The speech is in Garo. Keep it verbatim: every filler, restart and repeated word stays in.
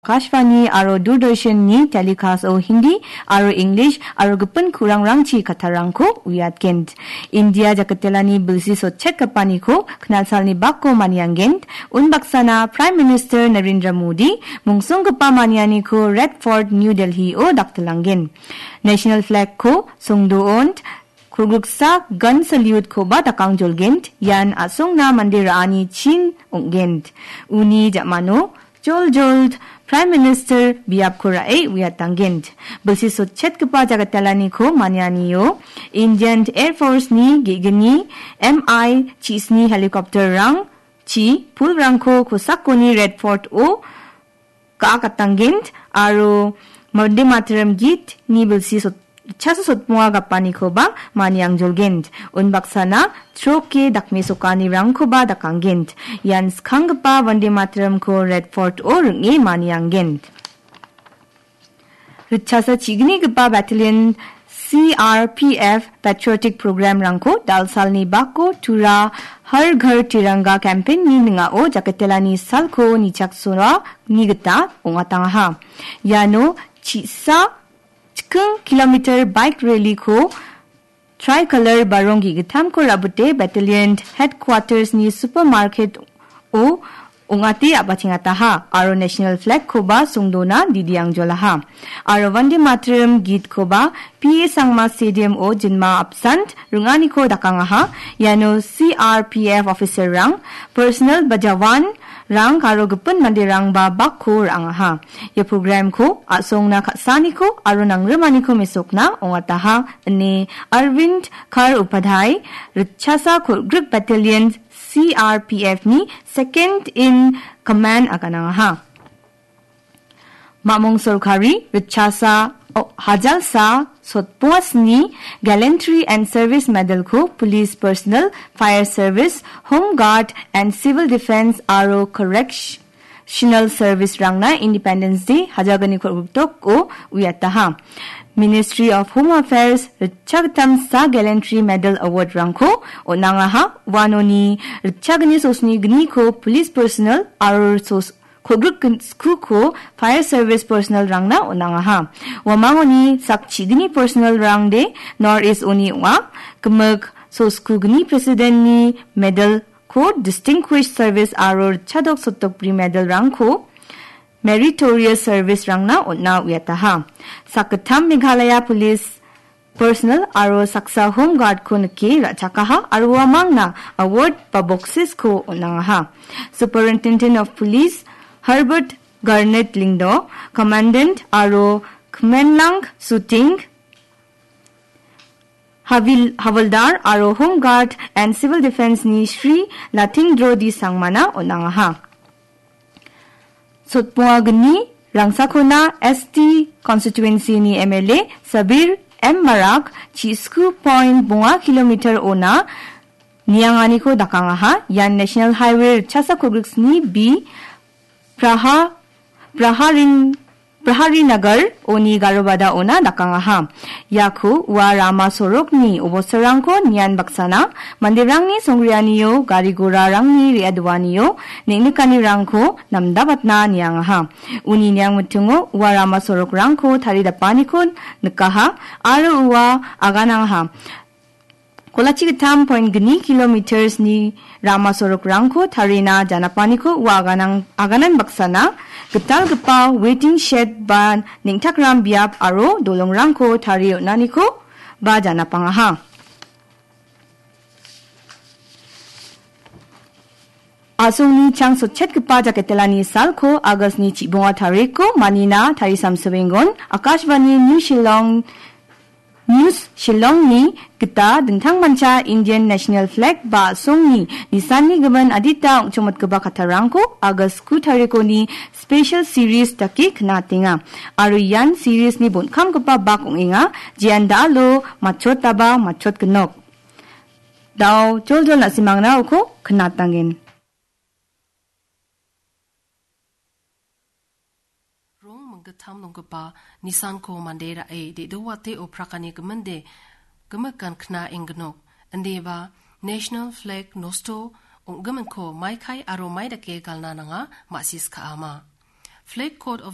Akashvani aro Doordarshan-ni telecast-o Hindi aro English aro gipin kurangrangchi kattarangko uiatgen. India jakitelani bilsi sotchetgipaniko knalsalni bako manianggen. Unbaksana Prime Minister Narendra Modi mungsonggipa manianiko Red Fort, New Delhi-o daktilangen. National flag-ko songdoon, kolgriksa gun salute-koba dakangjolgen, ian a·songna mande ra·ani chin ong·gen. Uni ja·mano joljol Prime Minister biapko ra·e uiatanggen. Bilsi sotchetgipa jagatalaniko manianio Indian Air Force-ni ge·gni M I chisni helicopter-rang chi pulrangko kosakoni Red Fort-o ga·akatanggen aro Vande Mataram git-ni bilsi sot-, chaso sotmonga gapanikoba maniangjolgen. Unbaksana troke dakmesokanirangkoba dakanggen. Ian skanggipa Vande Mataram-ko Red Fort-o ring·e manianggen. Ritchasa chignigipa battalion C R P F patriotic program-rangko dalsalni bako Tura Har Ghar Tiranga campaign-ni ning·ao jakatelani salko nichaksoani gita ong·atangaha. Iano chisa chiking kilometer bike rally-ko tricolor barong ge·gittamko ra·bite battalion headquarters-ni supermarket-o ong·ate a·bachengataha aro national flag-koba songdona didiangjolaha. Aro Vande Mataram git-koba P A Sangma Stadium-o jinma apsan ring·aniko dakangaha. Iano C R P F officer-rang, personnel ba jawan-rang aro gipin manderangba bakko ra·angaha. Ia program-ko a·songna ka·saaniko aro nangrimaniko mesokna ong·ataha, ine Arvind Kar Upadhyay, Ritchasa Kolgrik Battalion C R P F-ni second in command aganangaha. Mamung Sorkari, Ritchasa, o-, Hajalsa, Sotpongasni Gallantry and Service Medal-ko Police Personnel, Fire Service, Home Guard and Civil Defense aro Correctional Service-rangna Independence Day hajalgni kolgriktoko uiataha. Ministry of Home Affairs ritchagittamsa Gallantry Medal Award-rangko on·angaha. Uanoni ritchagni sosni gniko Police Personnel aro sos-, kolgrik gin-, skuko Fire Service Personnel-rangna on·angaha. Uamangoni sak chigni personnel-rangde North East-oni ong·a. Gimik soskugni President-ni Medal-ko Distinguished Service aro ritchadok sotokbri Medal-rangko Meritorious Service-rangna on·a uiataha. Sakgittam Meghalaya Police Personnel aro saksa Home Guard-ko nike ra·chakaha aro uamangna award ba boxes-ko on·angaha. Superintendent of Police Herbert Garnet Lyngdoh, Commandant aro Khmenlang Suting Havil-, Havildar aro Home Guard and Civil Defense-ni Shri Latindro D Sangmana on·angaha. Sotbonga gni rangsakona S T constituency-ni M L A Sabir M Marak chisku point bonga kilometer ona nianganiko dakangaha. Ian National Highway ritchasa kolgriksni B Praha-, Praharin-, Praharinagar oni garobada ona dakangaha. Iako ua rama sorokni obostarangko nian baksana manderangni songreanio, gari gorarangni re·adoanio neng·nikanirangko namdabatna niangaha. Uni niangmitingo ua rama sorokrangko taridapaniko nikaha aro ua aganangaha. Kolachi gittam point gni kilometers-ni rama sorokrangko tarina janapaniko ua aganang-, aganan baksana gitalgipa waiting shed ba neng·takram biap aro dolongrangko tarie on·aniko ba janapangaha. A·songni chang sotchetgipa jaketelani salko August-ni chibonga tariko manina tarisamsoengon Akashvani New Shillong News Shillongni gita dingtangmancha Indian National Flag ba a·songni nisanni gimin adita ong·chongmotgipa kattarangko August ku tarikoni special series dake knatenga. Aro ian series-ni bonkamgipa bak ong·enga, jean da·alo matchotaba matchotgnok. Da·o joljol na·simangna uko knatanggen. Rong minggittam nonggipa nisanko mande ra·e de·dowate oprakani giminde gimikan kna enggnok. Indiba National Flag nosto ong·giminko maikai aro maidake galna nanga ma·sis ka·ama. Flag Code of